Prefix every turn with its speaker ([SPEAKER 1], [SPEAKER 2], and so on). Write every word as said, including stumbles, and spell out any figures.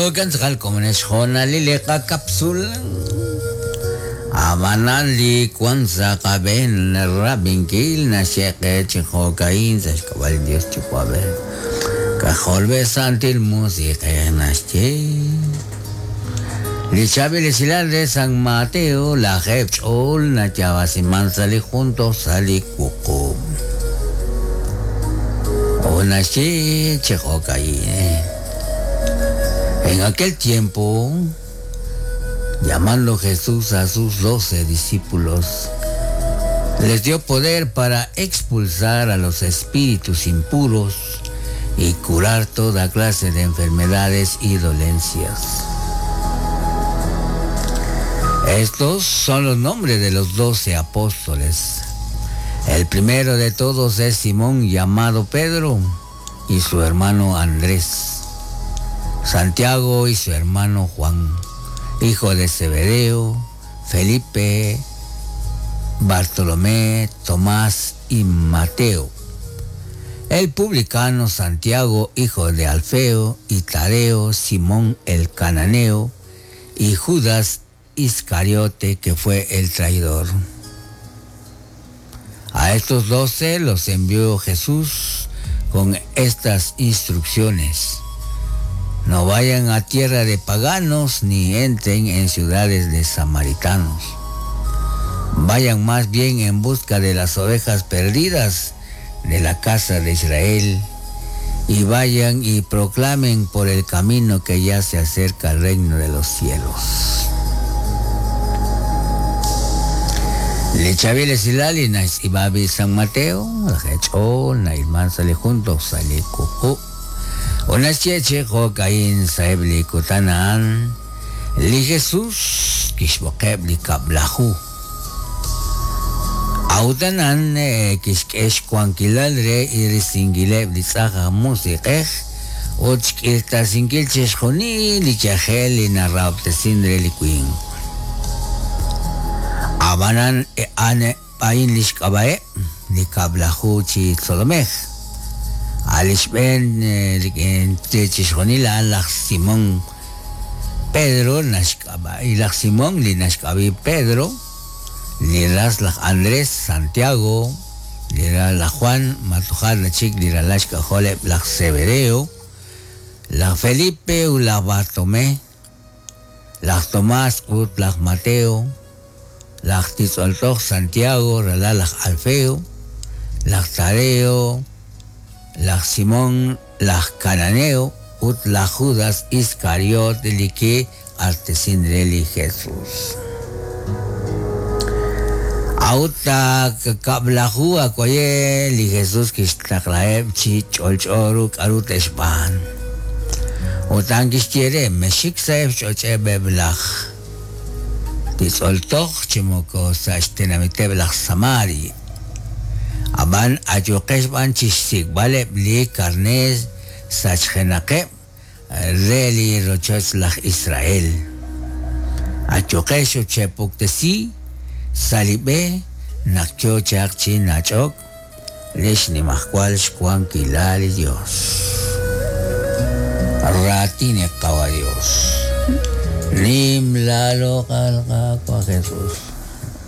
[SPEAKER 1] Jo'kan tz'aqal komonex jo'nalil li qakapsula. Ab'anan li wan sa' qab'een rab'inkil naxyeqe chi jo'ka'in sa' xk'ab'a' li Dios Yuwa'b'ej. Kajolb'e Santil Musiq'ej naxye. Li chaab'il esilal re San Mateo lajeeb' ch'ool nayaab'asiman sa' li junto sa' li wuqub'. O naxye chi jo'ka'in. En aquel tiempo, llamando Jesús a sus doce discípulos, les dio poder para expulsar a los espíritus impuros y curar toda clase de enfermedades y dolencias. Estos son los nombres de los doce apóstoles. El primero de todos es Simón, llamado Pedro, y su hermano Andrés, Santiago y su hermano Juan, hijo de Zebedeo, Felipe, Bartolomé, Tomás y Mateo. El publicano Santiago, hijo de Alfeo, y Tadeo, Simón el cananeo, y Judas Iscariote, que fue el traidor. A estos doce los envió Jesús con estas instrucciones: no vayan a tierra de paganos ni entren en ciudades de samaritanos. Vayan más bien en busca de las ovejas perdidas de la casa de Israel, y vayan y proclamen por el camino que ya se acerca al reino de los cielos. Le chavile silali na ibabi San Mateo, la na ilman sale junto sale kuku. Una cheche jokain saebli kutanan, li Jesús kishbokeb li kablahu. Autanan kishkesh kuankilal re irisingileb li tzaja musiqej, uchkiltasinkil cheshjoni li chajel li narrabtesin re li kuin. Abanan ane pain lishkabae li kablahu chi tzolomej. Alishben chishjonila laj Simón Pedro nashkaba y laj Simón li nashkabi Pedro, li ras laj Andrés Santiago, li ras laj Juan Matujar la chik li ralashka joleb laj Zebedeo, laj Felipe u laj Bartolomé, laj Tomás ut laj Mateo, laj Titzoltoj Santiago, rala laj Alfeo, laj Tadeo, laj Simón, laj Cananeo, ut laj Judas Iscariote li ki artesinreli Jesús. Auta kablahu akoye li Jesús kixtaqlaeb chi ch'olch'oru k'aru texb'an. Utan kixyere mexik saeb ch'och'eb laj Titzoltoj chimoko sa xtenamiteb laj Samari. Aban ayuqex b'an chixsikb'aleb li karneer sachjenaqeb re li rochoch laj Israel. Ayuqex uchepuktesi salibe naq yo chaq chi nach'ok lix nimajwal xwankilal li Dios. Ratine qawa Dios. Nim lalo qalqa Jesús.